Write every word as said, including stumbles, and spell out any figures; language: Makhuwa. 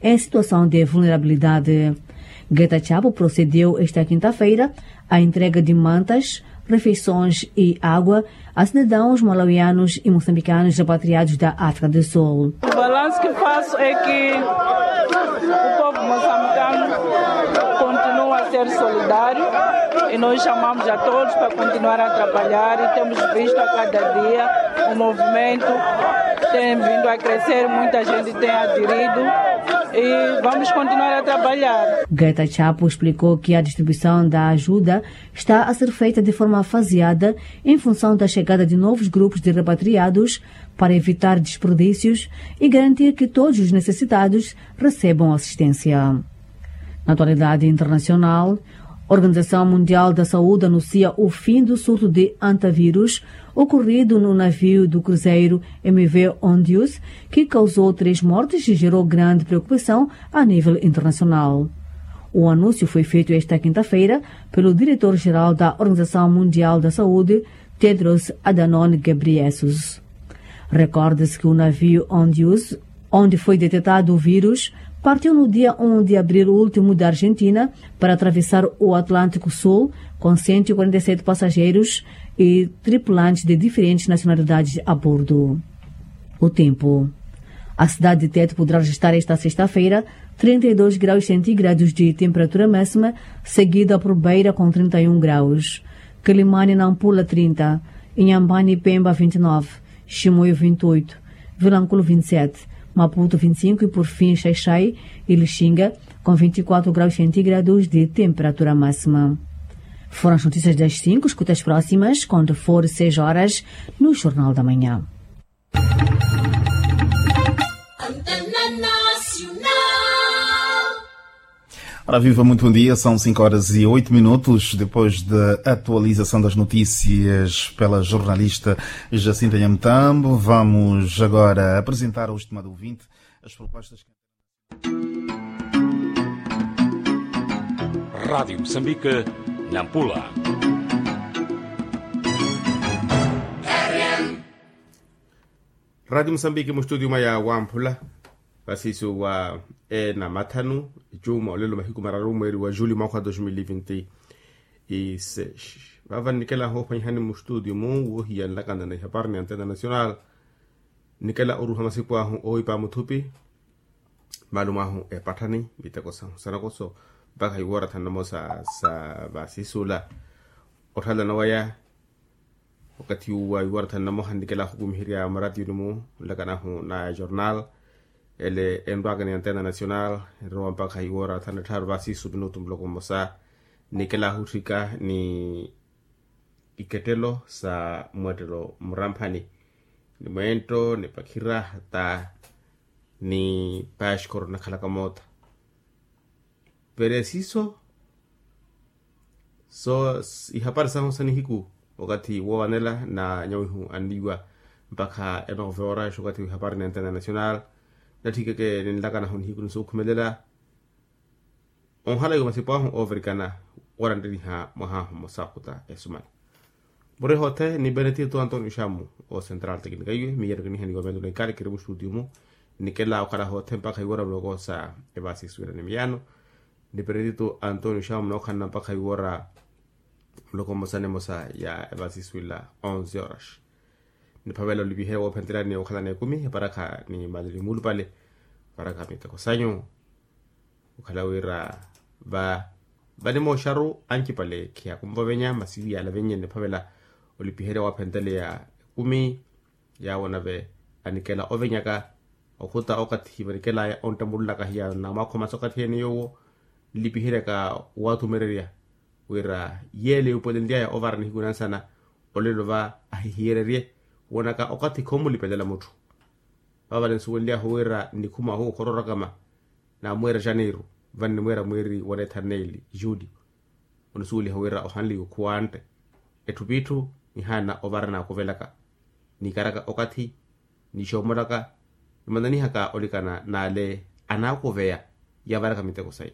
em situação de vulnerabilidade. Geta Chapo procedeu esta quinta-feira à entrega de mantas, refeições e água a cidadãos malawianos e moçambicanos repatriados da África do Sul. O balanço que faço é que o povo moçambicano continua a ser solidário e nós chamamos a todos para continuar a trabalhar e temos visto a cada dia o movimento tem vindo a crescer, muita gente tem aderido e vamos continuar a trabalhar. Geta Chapo explicou que a distribuição da ajuda está a ser feita de forma faseada em função da chegada de novos grupos de repatriados para evitar desperdícios e garantir que todos os necessitados recebam assistência. Na atualidade internacional, a Organização Mundial da Saúde anuncia o fim do surto de antavírus ocorrido no navio do cruzeiro M V Ondius, que causou três mortes e gerou grande preocupação a nível internacional. O anúncio foi feito esta quinta-feira pelo diretor-geral da Organização Mundial da Saúde, Tedros Adhanom Ghebreyesus. Recorde-se que o navio Ondius, onde foi detectado o vírus, partiu no dia um de abril último da Argentina para atravessar o Atlântico Sul com cento e quarenta e sete passageiros e tripulantes de diferentes nacionalidades a bordo. O tempo. A cidade de Tete poderá registrar esta sexta-feira trinta e dois graus centígrados de temperatura máxima, seguida por Beira com trinta e um graus. Quelimane e Nampula, trinta, Inhambane e Pemba, vinte e nove, Chimoio, vinte e oito, Vilanculo, vinte e sete, Maputo, vinte e cinco e, por fim, Xai-Xai e Lixinga, com vinte e quatro graus centígrados de temperatura máxima. Foram as notícias das cinco, escuta as próximas quando for seis horas no Jornal da Manhã. Antena Nacional. Ora viva, muito bom dia. São cinco horas e oito minutos. Depois da atualização das notícias pela jornalista Jacinta Nhamutambo, vamos agora apresentar ao estimado ouvinte as propostas que Rádio Moçambique, Nampula. Rádio Moçambique, mu studio mwa ya Wamphula, vasisu wa ena mathanu, ecuma olelo mahiku mararu mweeri wa juli mwakha wa dos mil e vinte e seis. Vava nnikela hoophwanyihani mu studio mu woohiya nlakana na ihapari ni antena nacional. Nnikela oruha masipu ahu oowipa muthupi, maalumu ahu epatthani miteko sahu sanakoso mpakha iwoora thanu namosa sa vasisula. Otthalana waya wakathi uwa iwoora thanu namoha nnikela ahukumiherya mwaratiyuni-mu nlakanahu na jornal ele enrwaka ni antena nacional. Enrowa mpakha iwoora thanu na tthaaru vasisu minutu muloko mmosa nnikela ahutthika ni ikettelo sa mwettelo muramphani ni mweento ni pakhira hata ni paxkoro nakhalaka moota. Veresiso so ihapari sahu sa nihiku wakathi woowanela na nyawihu anniiwa mpakha enoove oraxi wakathi wihapari ni antena nacional. Natthikeke ninlakanahu nihiku ni sookhumelela onhala iwe masipu ahu oovirikana wooranttiniha mwaha ahu mmosa khuta esumana. Muri hoothe ni benetito antonio xamu o central teknika iwe miya nikinihaniwa mento na ikari kiri mu studio mu. Nikela okhala hoothe mpakha iwora muloko sa evasi suwira ni miyano ni benetito antonio xamu nookhanana mpakha iwora muloko mmosa ni mmosa ya evasi suwila onze horas. Niphavela olipihe woophentelani okhalana ekumi eparakha ni mali ni muulupale eparakha miteko sanyu. Okhala wira va vanimooxaru ancipale khiyakumva ovenya masi iyala vennye niphavela olipiherya waaphenteleya ekumi yaawo nave anikela ovenyaka okhuta okathi vanikelaya onttambululaka hiya namwakhomasa okathi ene yoowo nlipiheryaka waathumererya wira yeele yuupolenlyaya ovara nihiku nansana olelo va ahihiyererye woonaka okathi khoomulipelela mutthu. Vavale nsuwenlyahu wira nnikhuma ohu okhororokama naamweera janeiru vannimweera mweeri wa neetha nneeli juliyo. Onisuweliha wira ohanliwe khuwantte etthu p'itthu nihaana ovara naakuvelaka niikaraka okathi nixoomolaka nimananihaka olikana n'ale anaakuveya yavaraka miteko saya.